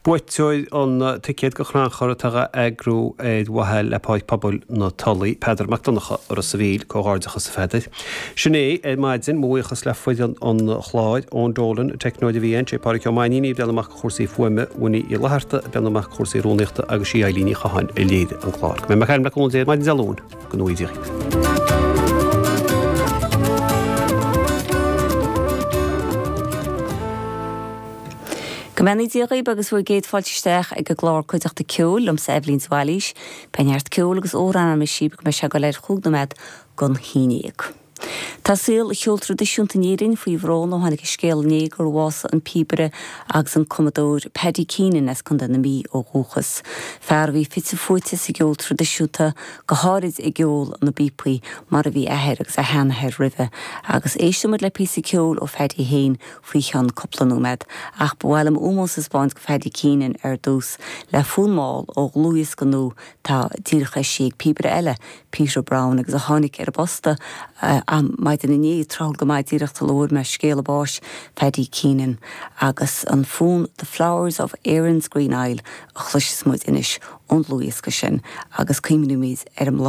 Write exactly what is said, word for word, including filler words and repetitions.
Buaiteoir an ticéad go chrannchur atá á eagrú ar mhaithe le Páirc Pobail na Tulaí, Peadar Mac Donncha as Ros a' Mhíl, comhghairdeachas a Pheadair. Sin é ar maidin, mo bhuíochas le foireann an chláir, Eoin Dolan, teicneoir a bhí ann, sé Pádraig Ó Mainnín ag breathnú amach do chúrsaí fuaime, Winnie Uí Fhlatharta ag breathnú amach do chúrsaí rúnaíochta agus sí Eilín Ní Chatháin a léirigh an clár. Go mbeidh mé ag caint le cúnamh Dé maidin Dé Luain, go ngnóthaí Dia dhaoibh. Go mbeannaí Dia dhaoibh agus bhur gcéad fáilte isteach ag an gclár Cuideachta Ceoil liomsa Eibhlín de Bhailís. Beidh neart ceoil agus amhrán agam sibh go mbeidh sé ag dul ar chúig nóiméad gon haon déag. Tá saol an cheoil traidisiúnta in Éirinn faoi bhrón ó tháinig an scéal inné gur bhásaigh an píobaire agus an cumadóir Paddy Keenan as Contae na Mí ó dhúchas. Fear a bhí fite fuaite sa gceol traidisiúnta, go háirid i gceol na bpíopaí, mar a bhí a athair agus a sheanathair roimhe. Agus éistfidh muid le píosa ceoil ó Phaddy féin faoi cheann cúpla nóiméad, ach ba mhaith liom ómós a thaispeáint go Phaddy Keenan ar dtús le fonn mall ó dhlúthdhiosca nua atá díreach eisithe ag píobaire eile, Peter Browne, agus a tháinig ar an bposta maidin inné, tráthúil go maith díreach sula bhfuair mé scéala báis Phaddy Keenan. Agus an fonn 'The Flowers of Erin's Green Isle' a chloisfeas muid anois ón dlúthdhiosca sin agus cuimhneoimid ar an mbláthanna.